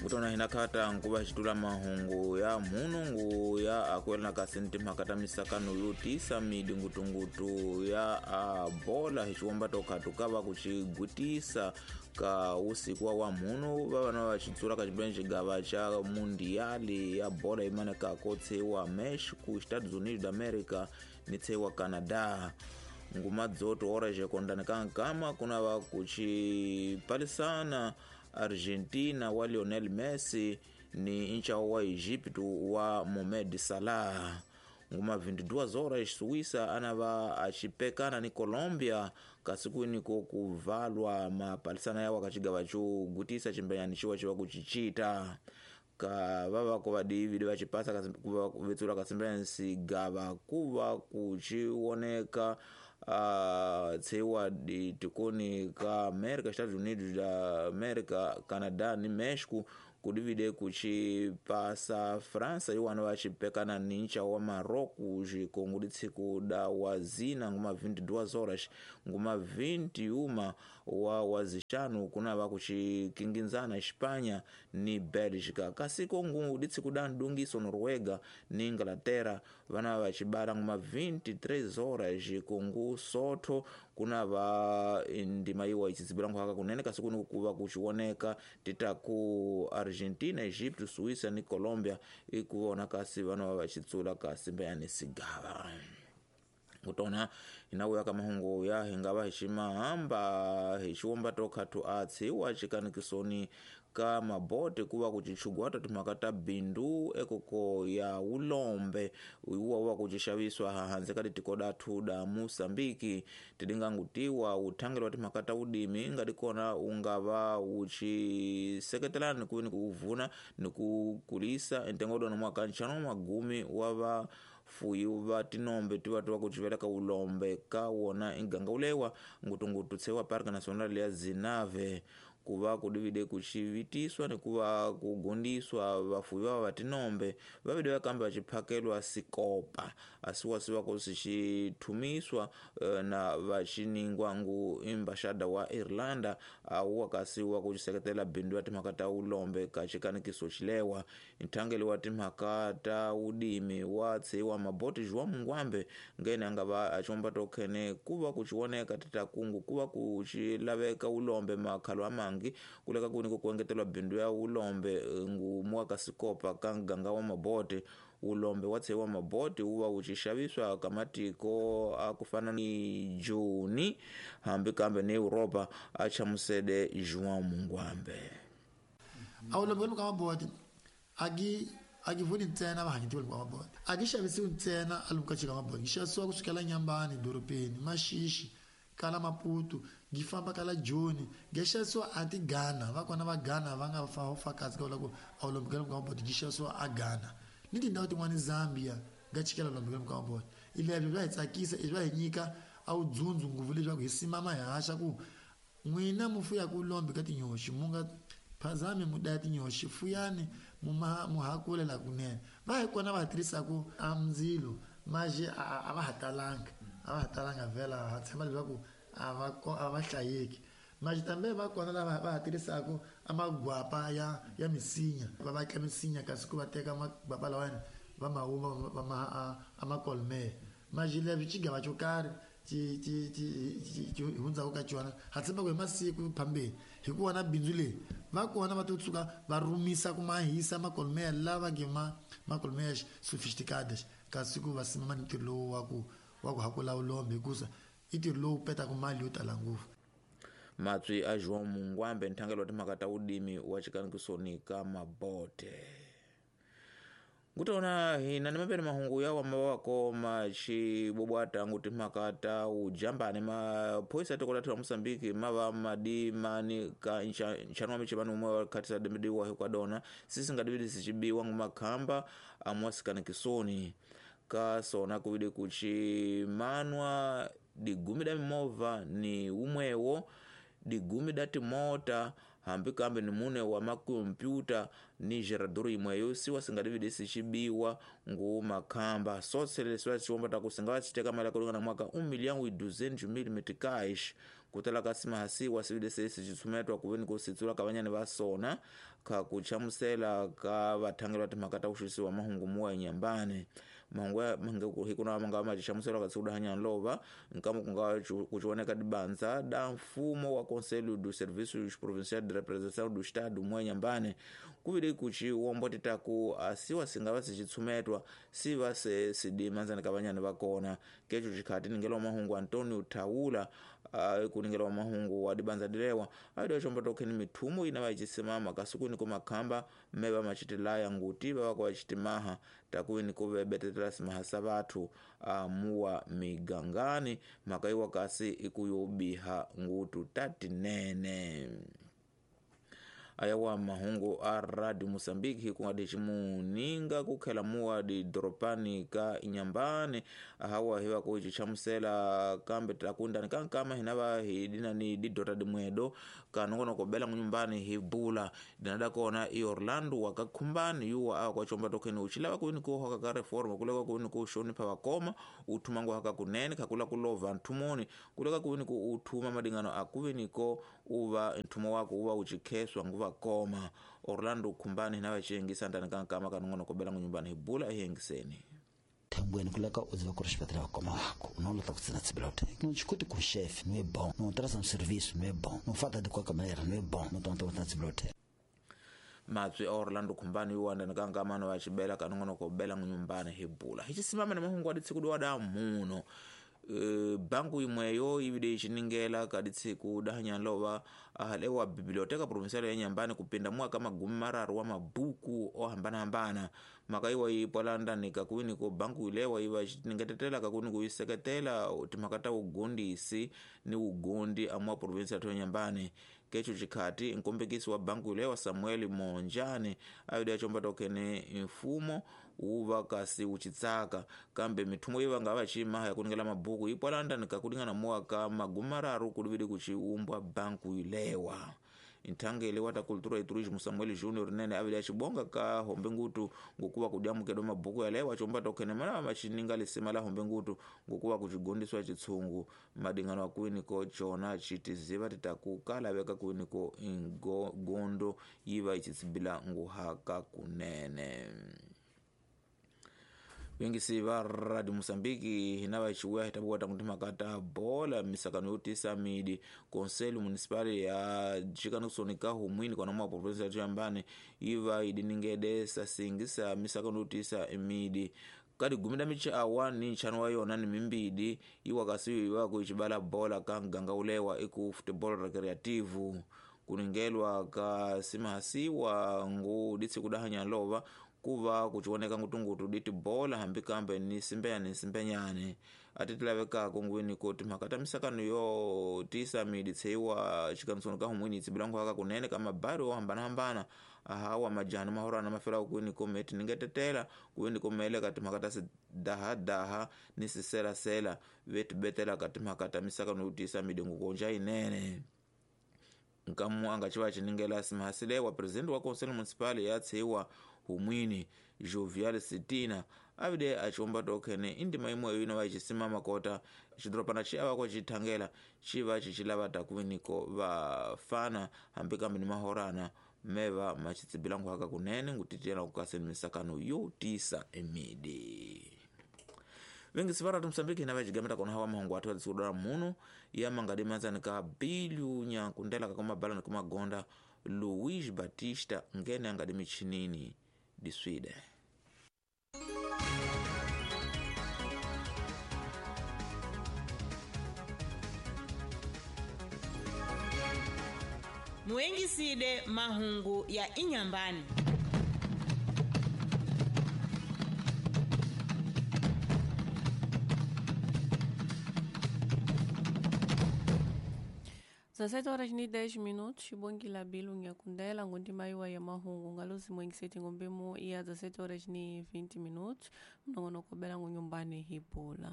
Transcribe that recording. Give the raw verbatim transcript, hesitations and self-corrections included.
Kutona hina khata nkuva xitula mahungu ya mhunungu ya akwela kasi ni timhaka ta misakano yo tisa midi ngutungutu ya a bola hi xiwomba to khatu ka va ku xigwitisa ka usiku wa mhunu va vana va xitsula ka xibeni xigava xa mundiali ya bola imane ka ko tshewa Mexico, Estados Unidos da America ni tshewa Canada. Nguma dzoto ora xekondani ka nkama kuna va ku xipalisana Argentina wa Lionel Messi ni nchawo wa Egypt wa Mohamed Salah. Nguma vinte e duas horas Suíça ana va axipekana ni Colombia kasi kwini ko kuvalwa mapalisana yawo akachigava cho gutisa chimbenyani chiwa chiwa kuchichita ka vava ko vadividi vachipasa kuva vetsula kasimbenyani sigava kuva kuchioneka uh, tsewa tikoni ka America, Estados Unidos da America, Canada ni Mexico kudivide kuchipasa França iwana vachipekana ni ncha wa Marocos xikongo ditsiku da wazina nguma vinte e duas horas nguma vinte e uma wa wazixanu kuna va kuchikinginzana Espanha ni Bélgica kasi kongo ditsiku da ndungiso Noruega ni Inglaterra vana vachibala nguma vinte e três horas xikongo Sotho kuna va ndima iwa ichizibilango haka kunene kasi kuni kuva kuchioneka titaku Argentina, Egypt, Suíça ni Colombia ikuona kasi vana va vachitsula kasi mbeyani sigava. Kutona inauya ka mahungu ya hingava hi ximahamba hi xiwomba to khathu a tshiwa xikanikisoni ka mabote kuva kuchichugwata timhaka ta bindu ekoko ya ulombe uwa wa kuchixaviswa hanze ka titiko dathu da Moçambique tidingangutiwa uthangelo wa timhaka ta udimi ngati kona ungava uchiseketelana ni ku ni kuvuna ni ku kulisa entengo dona mwaka nxano magumi wa va fuyi va tinombe ti va ti va ku civeleka ulombe ka wona inganga ulewa ngutungutu tsewa Parque Nacional ya Zinave kuva kudivide kuchivitiswa ni kuva kugundiswa vafuyi va va tinombe vavide vakambe vachiphakelwa sikopa asiwasiwa ku sixithumiswa na vachiningwa ngu embaxada wa Irlanda awuwa kasi wa ku xiseketela bindu ya timhaka ta ulombe ka xikanikiso xilewa nthangelo wa timhaka ta udimi wa tshiwa maboti João Mungwambe ngene anga va axomba to khene kuva ku xioneka titakungu kuva ku xilaveka ulombe makhalo amangi kuleka kuni ku kuengetelwa bindu ya ulombe ngumu ka sikopa ka nganga wa mabote ulombe wa tshewa mabote uva uchixaviswa ka matiko a kufana ni Juni hambi kambe ni Europa a chamusede João Mungwambe. A ulombe ka mabote agi agivuni ntsena vahanyitiwa ka mabote agi xavisiwi ntsena a luka chika mabote xavisiwa kusukela Nyambani dorobeni Maxixi kala Maputo gifamba kala Joni gexaviswa a ti Ghana va kona va Ghana va nga fa fakazi ka ku a ulombe ka mabote gixavisiwa a Ghana ni tindhawu tin'wana Zambia ga chikela ulombe ka mabote ilebyo bya hi tsakisa i bya hi nyika a wu dzundzu ngopfu leswaku hi simama hi haxa ku n'wina mu fuyaka ulombe ka tinyoxi mu nga phazami mu daya tinyoxi fuyani mu mu hakulela kunene va hi kona va tirhisaku a ndzilo maje a va ha talanga a va ha talanga vhela ha tshemba leswaku a va a va hlayeki maje tambe va kona lava va ha tirhisaku a magwapa ya ya misinya va vatla misinya kasi ku va teka magwapa lawani va ma huma va ma a makolme maje leswi xigava xo karhi ti ti ti ti hundzaku ka xona ha tshemba ku hi masiku phambeni hi ku vona bindzu leyi va kona va to tshuka va rumisa ku mahisa makolmeya lava nge ma makolmeya sofisticadas kasi ku va simama ni ntirho lowu wa ku wa ku hakula ulombe hikusa i ntirho lowu petaka mali yo tala ngopfu. Matswi a João Mungwambe nthangelo wa timhaka ta udimi wa xikanikisoni ka mabote. Ngutona hina ni mapeni mahungu ya wa mawako machibobwata ngu timhaka ta ujambani maphoyisa tiko lathu la Mosambiki mava madimani ka nxano wa michivano umwe wa khatisa demediwa hikwadona sisi ngadividi sichibiwa ngu makhamba amwasikanikisoni ka sona kuvidi kuchimanwa digumi da mimovha ni umwewo digumi da timota hambi kambe ni mune wa makompyuta ni gerador imweyo siwa singadividi sichibiwa ngu makhamba sotse leswi va xiwomba ta ku singa va xiteka mali ya kulingana mwaka um milhão e duzentos mil meticais Kutala ka simahasiwa sivile se sicitsumetwa kuveni kusitsula ka vanyani va sona kha kuchamusela ka vathangeli va timhaka ta kuxisiwa mahungu muwa enyambani. Mahungu ya mange hikuna manga machichamusela ka tsiku dahanya lova nkamo kunga kuchioneka dibanza da mfumo wa Conselho dos Serviços Provinciais de Representação do Estado muwa enyambani kuvile kuchi womboteta ku asiwa singava sichitsumetwa siva se sidimanzani ka vanyani va kona. Kecho chikhati ningela mahungu Antonio Taula uh, kuningela mahungu wa dibanza dilewa aido chombo tokheni mithumo ina vachisimama kasukuni kumakhamba mmeva machitilaya nguti vava kwa chitimaha takuini kuvebetetela simaha sa vathu uh, muwa migangani makaiwa kasi ikuyobiha ngutu tatinene. Ayawa mahungu a Radio Mozambique kungadi chimuninga kukhela muwa di doropani ka inyambani hawa hiwa kuchichamusela kambe takundani kankama hinava hidina ni didota dimwedo kanongono kobela ngunyumbani hibula dinada kona i Orlando wakakhumbani yuwa awa kwa chomba tokeni uchilava kuini kuhoka ka reforma kuleka kuini kushonipha vakoma uthuma nguhaka kunene khakula kulova nthumoni kuleka kuini ku uthuma madingano akuviniko uva nthumo wako uva uchikheswa nguva koma. Orlando Khumbani hina vachiyengisa ndani kankama kanongono kobela ngunyumbani hibula ehengiseni. Thembweni kuleka uziva ku ri xibedhlele va koma wako no lata ku tsina tsibela uthenga no xikuti ku chef no é bom no traz um serviço não é bom no fata de qualquer maneira não é bom no tonto tsina tsibela uthenga. Matswi a Orlando Khumbani yuwa ndani kankama no vachibela kanongono kobela ngunyumbani hibula hichisimama na mahungu aditsiku diwada muno. Uh, banku imweyo ivide ichiningela kaditsiku dahanyanlova ahalewa biblioteca provincial ya nyambani kupinda mwaka magumi mararu wa mabuku ohambanahambana makaiwa ipwalandani kakuwiniko banku ilewa iva iciningetetela kakuwini kuiseketela timhaka ta ugondisi ni ugondi amwa provinsia ya nyambani. Kecho chikhati nkombekisi wa banku ilewa Samuel Monjane avide achomba tokene mfumo uva kasi uchitsaka kambe mithumo iva ngava chimaha yakuningela mabuku ipwalandani kakulingana muwaka magumi mararu kulivili kuchiumbwa banku ilewa. Nthangele wa ta cultura e turismo Samuel Junior nene avile achibonga ka hombe ngutu ngokuva kudyamukelo mabuku yalewa achomba tokhene mana machininga lisima la hombe ngutu ngokuva kuchigondiswa chitsungu madingano akuiniko chona chitiziva titakukala kuiniko ingondo yiva ichitsibila nguhaka kunene. Vengisi va Radio Mozambique hina vachiuya hitabuwa tangu timakata bola misakano yotisa midi Conselho Municipal ya chikanosonika humwini kwa namwa provinsia ya Nyambani iva idiningede sasingisa misakano yotisa midi kadi gumi da michi awa ni nchano wa yona ni mimbidi iwa kasiyo iwa kuichibala bola kanganga ulewa iku football recreativo kuningelwa ka simahasiwa ngu ditsi kudahanya lova kuva kuchioneka ngutungutu diti bola hambi kambe ni simbenyane ni simbenyane atitilavekako ngwini kuti mhaka misakano yo tisa midi tseiwa chikansoni ka humwini tsibilangu haka kunene kama bari ohambanahambana ahawa majani mahorana mafela kwini kometi ningetetela kwini komele kati mhaka ta sidahadaha ni siselasela vetibetela kati mhaka ta misakano yo tisa midi ngukonja inene. Nkamu angachiva chiningela simahasilewa president wa Conselho Municipal ya tseiwa humwini Jovial Sitina avide achiomba tokhene indima imweyo ino vachisimama kota chidropana chiava kwachithangela chiva chichilava takuviniko vafana hambi kambe ni mahorana meva machitsibilangu haka kunene ngutitiyela kukaseni misakano yotisa emidi. Vengisi varatu Mozambique hina vachigameta kona hawa mahungu athu adzikudala muno ya mangadimanzani ka Bilhu Nyankundela kakomabala nikumagonda Luiz Batista ngene angadi michinini diswide. Muengiside mahungu ya inyambani. dezessete horas e dez minutos, Xibongila Bilu Nyakundela, ngondima ya mahungu ngalozi mwengiseti ngombemo ya dezessete horas e vinte minutos, mnongonoko bela ngunyumbani hibula.